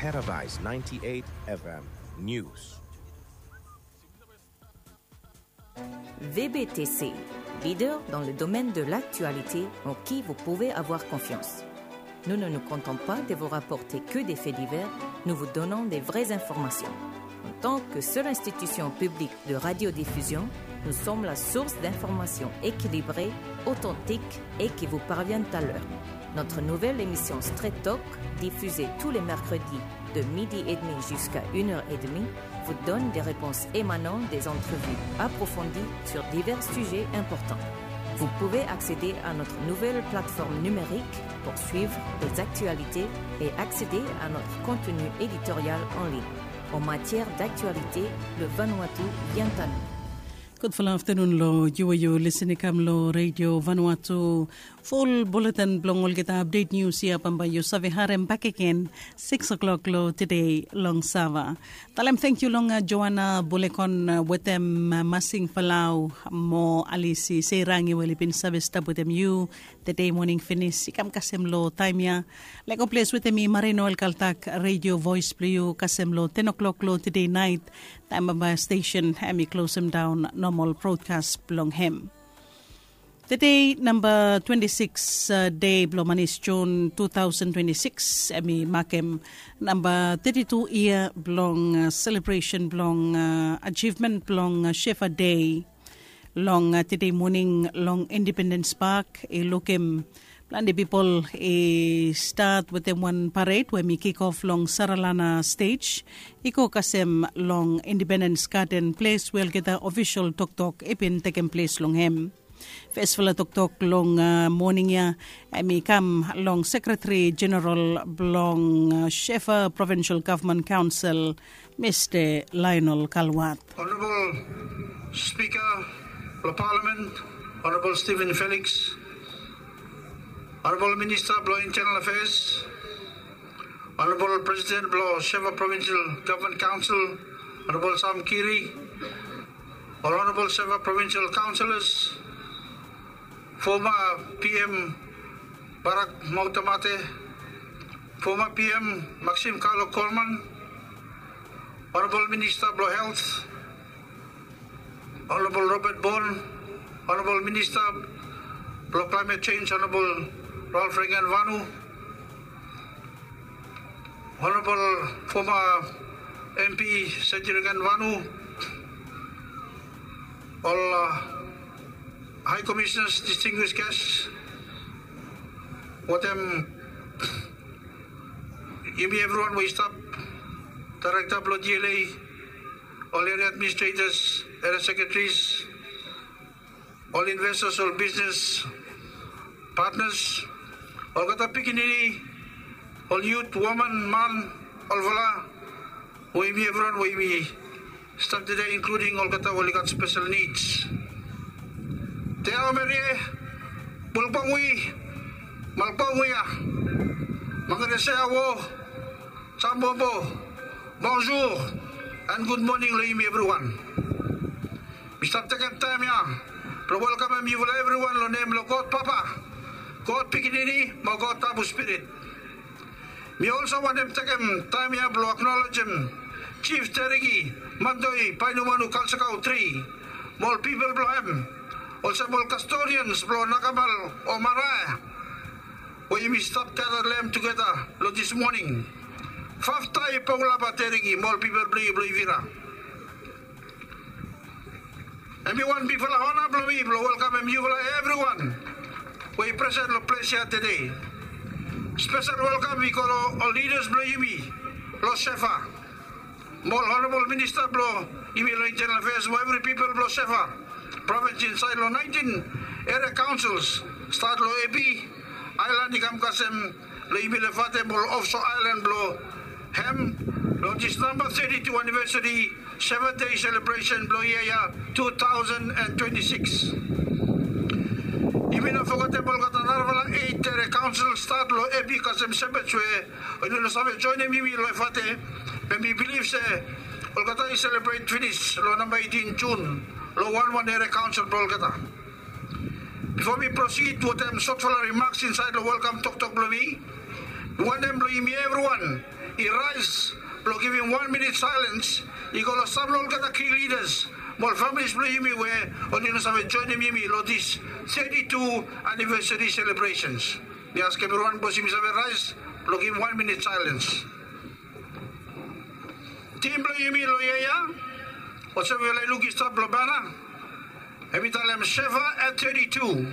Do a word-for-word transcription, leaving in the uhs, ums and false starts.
Paradise ninety-eight F M News. V B T C, leader dans le domaine de l'actualité en qui vous pouvez avoir confiance. Nous ne nous contentons pas de vous rapporter que des faits divers, nous vous donnons des vraies informations. En tant que seule institution publique de radiodiffusion, nous sommes la source d'informations équilibrées, authentiques et qui vous parviennent à l'heure. Notre nouvelle émission Straight Talk, diffusée tous les mercredis de midi et demi jusqu'à une heure et demie, vous donne des réponses émanant des entrevues approfondies sur divers sujets importants. Vous pouvez accéder à notre nouvelle plateforme numérique pour suivre les actualités et accéder à notre contenu éditorial en ligne. En matière d'actualité, le Vanuatu vient à nous. Gudfala aftanun long yu we yu lisin i kam long Radio Vanuatu. Ful bulletin blong olgeta update news ya bambae yu save harem bakegen six o'clock long tede long sava. Talem tangkiu long Joana Bulekon wetem Masing Palau mo Alisi Seirangi we oli bin save stap wetem yu tede moning finis i kam kasem long taem ya. Lego ples wetem mi Marino Elkaltak, Radio Voice blong yu kasem long ten o'clock long tede naet. Taem bambae stesen hem i klosem daon nomal brodkas blong hem. Tede namba twenti sikis dei blong manis Jun tu taosen twenti sikis hem i makem namba teti tu yia blong selebresen blong ajivmen blong Shefa Dei. Long tede moning long Independens Pak i lukim plante pipol i stat wetem wan pared we hem i kikof long Saralana stej i go kasem long Independens Gaden ples we olgeta ofisol toktok i bin tekem ples long hem. Fesfala toktok long moning ya hem i kam long Sekretari Jeneral blong Shefa Provinsel Gavman Kaonsel, Mista Lionel Kalwat. Honorable Speaker blong Palamen, Honorable Stephen Felix, Honorable Minista blong Internal Affairs, Honorable Presiden blong Shefa Provinsel Gavman Kaonsel, Honorable Sam Kiri, ol Honorable Shefa Provinsel Kaonselas, foma P M Barak Mohatamate, foma P M Maxime Carlo Coleman, Honorable Minista blong Helt, Honorable Robert Bourne, Honorable Minista blong Klaemet Jenj, Honorable Ralph Regenvanu, Honorable foma M P Seti Regenvanu, ol High Commissioners, distinguished guests, wetem yumi evriwan we i stap, Daerekta blong D L A, ol Area Administrators, Area Sekretaris, ol investors, ol bisnes patnas, olgeta pikinini, ol yut, woman, man, olfala, we yumi evriwan we yumi stap tede, inkluding olgeta we oli gat spesel nids. Te aomerie, bulbongwi, malbongwi ya, mangaresea wo, sambobo, bonjour and good morning long yumi evriwan. Mi stap tekem taem ya blong welkamem yufala evriwan long nem blong God Papa, God Pikinini mo God Tabu Spirit. Mi olsem wantem tekem taem ya blong aknolejem Jif Tereki Mantoi Painumanu Kalsakau Tri mo ol pipol blong hem, olsem ol kastodians blong Nakamal o Marae we yumi stap gada long hem tugeta long dis moning. Faftai Pongulapa Tereki mo ol pipol blong yu blong Ivira. Hem i wan bigfala ona blong mi blong welkamem yufala evriwan we i presen long ples ya tede. Spesel welkam i go long ol lidas blong yumi long Shefa, mo ol Honorable Minista blong yumi long Internal Affairs, mo evri pipol blong Shefa Provins insaed long naentin Area Kaonsels, stat long Ebi Aelan i kam kasem long yumi long Efate mo ol ofso aelan blong hem long dis namba teti tu anivesari Shefa Dei selebresen blong yia ya tu taosen an twenti sikis. Yumi no fogetem olgeta narafala eit Area Kaonsel stat long Ebi kasem Shepherds we oli no save joenem yumi long Efate, be mi bilif se olgeta i selebret finis long namba eitin Jun long wanwan Area Kaonsel blong olgeta. Bifo mi prosid wetem sotfala rimaks insaed long welkam toktok blong mi, Wantem blong yumi evriwan i raes blong givim wan minit saelens i go long sam long olgeta ki lidas mo ol familis blong yumi we oli no save joinim yumi long dis teti tu anivesari selebresens. Mi askem evriwan bos yumi save raes blong givim wan minit saelens. Tim blong yumi long yia ya, olsem yufala i luk i stap long bana, hem i talem Sheva at teti tu.